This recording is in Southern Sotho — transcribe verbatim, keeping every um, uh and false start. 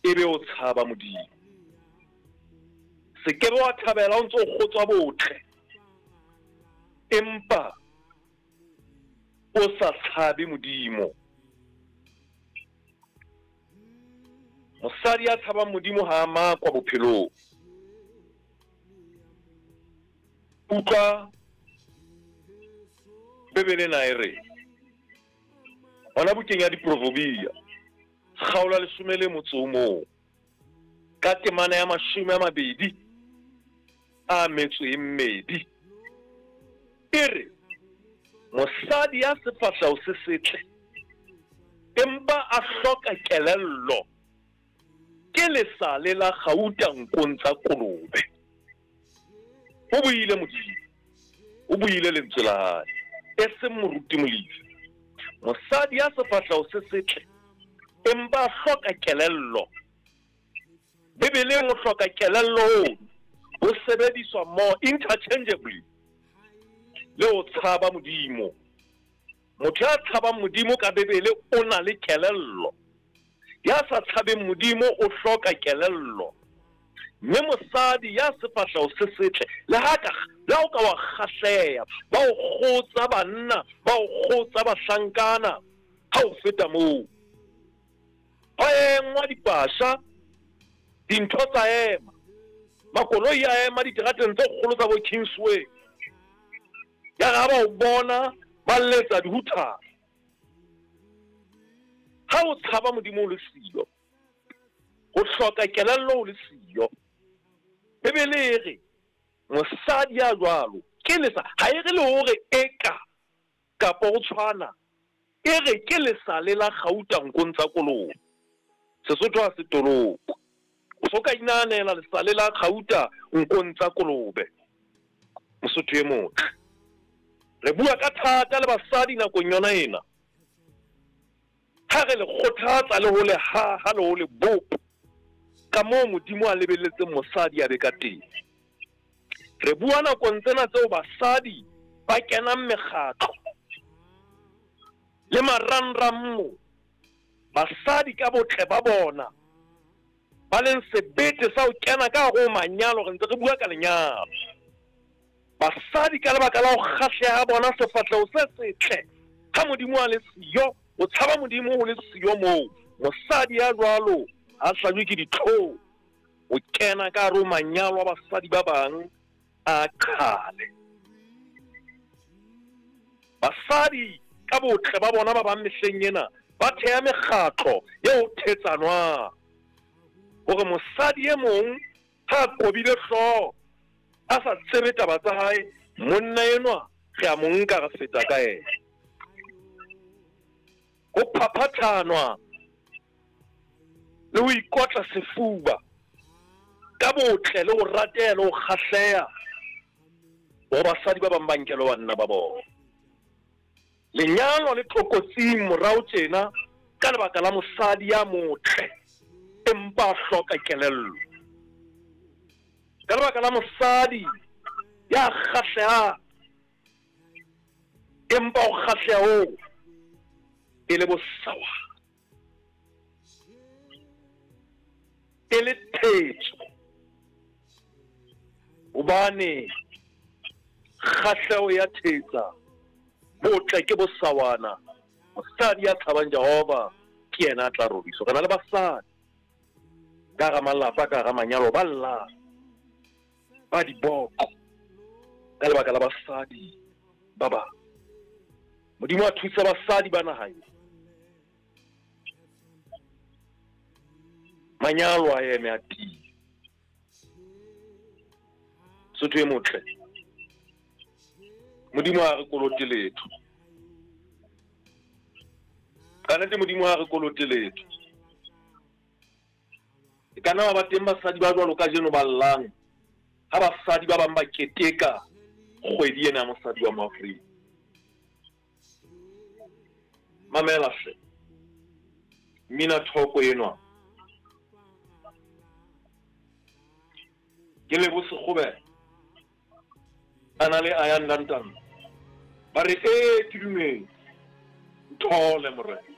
Ebe o tshaba Modimo. Se ke wa thabela o ntso kgotswa botle, empa o sa tshabe Modimo. Mosadi ya tshabang Modimo ha a makwa bophelong. Utlwa Bibele na e re hona bukeng ya Diproverbia kgaolo ya leshome le motso o mong ka temana ya mashome a mabedi a metso e mmedi, e re mosadi ya sefahleho se setle empa a hloka kelello ke lesale la kgauta nkong tsa kolobe. O buile Modimo, o buile lentswe la hae, e seng moruti Molefi. Mosadi ya sefahleho se setle empa a hloka kelello. Bibeleng o hloka kelello ho sebediswa more interchangeably le ho tshaba Modimo. Motho ya tshabang Modimo ka Bibele o na le kelello. Ya sa tshabeng Modimo o hloka kelello. Mme mosadi ya sefahleho se setle le ha ka le ha o ka wa kgahleha, ba o kgotsa banna, ba o kgotsa bahlankana, ha o feta moo ba engwa dipasha, dintho tsa ema, makoloi a ema diterateng tse kgolo tsa bo Kingsway. Ya re ha ba o bona ba letsa dihuthana. Ha o tshaba Modimo o le siyo, o hloka kelello o le siyo. Bibele e re mosadi ya jwalo ke lesa, ha e re le hore eka kapa o tshwana, e re ke lesale la kgauta nkong tsa kolobe. Sesotho ha se toloko. O so ka inahanela lesale la kgauta nkong tsa kolobe. Mosotho e motle, re bua ka thata le basadi nakong yona ena. Ha re le kgothatsa le ho le haha le ho le bopa ka moo Modimo a lebelletseng mosadi a be ka teng. Re bua nakong tsena tseo basadi ba kenang mekgatlo le marangrang mo, basadi ka botle ba bona ba leng sebete sa ho kena ka hare ho manyalo. Re ntse re bua ka lenyalo. Basadi ka lebaka la ho kgahleha bona sefahleho se setle, ha Modimo a le siyo, o tshaba Modimo ho le siyo moo, mosadi ya jwalo ha hlajwe ke ditlhong, o kena ka hare ho manyalo a basadi ba bang a qhale. Basadi ka botle ba bona ba bang mehleng ena ba theha mekgatlo eo thetsanwang hore mosadi e mong ha a kobile hlooho a sa tsebe taba tsa hae, monna enwa re a mo nka re feta ka yena. Ho phaphathanwa le ho ikotla sefuba ka botle le ho rateha le ho kgahleha hore basadi ba bang ba nkelwe banna ba bona. Lenyalo le tlokotsing morao tjena ka lebaka la mosadi ya motle empa a hloka kelello, ka lebaka la mosadi ya kgahlehang empa o kgahleha oo e le bosawa, e le thetso, hobane kgahleho ya thetsa, botle ke bosawana. Mosadi ya tshabang Jehova ke yena a tla roriswa. Re na le basadi ka hara malapa, ka hara manyalo, ba llang ba diboko ka lebaka la basadi ba bang. Modimo a thusa basadi ba naha ena. Manyalo a eme a tiye. Sotho e motle, Modimo ha re kolote letho. Ka nnete Modimo ha re kolote letho. E ka nna ba teng basadi ba jwalo kajeno ba llang ha basadi ba bang ba keteka kgwedi ena ya mosadi wa Moafrika. Mamela hle, mmina thoko enwa ke Lebo Sekgobela a na le Ayanda Ntando, ba re ee ke dumetse, nthole morena.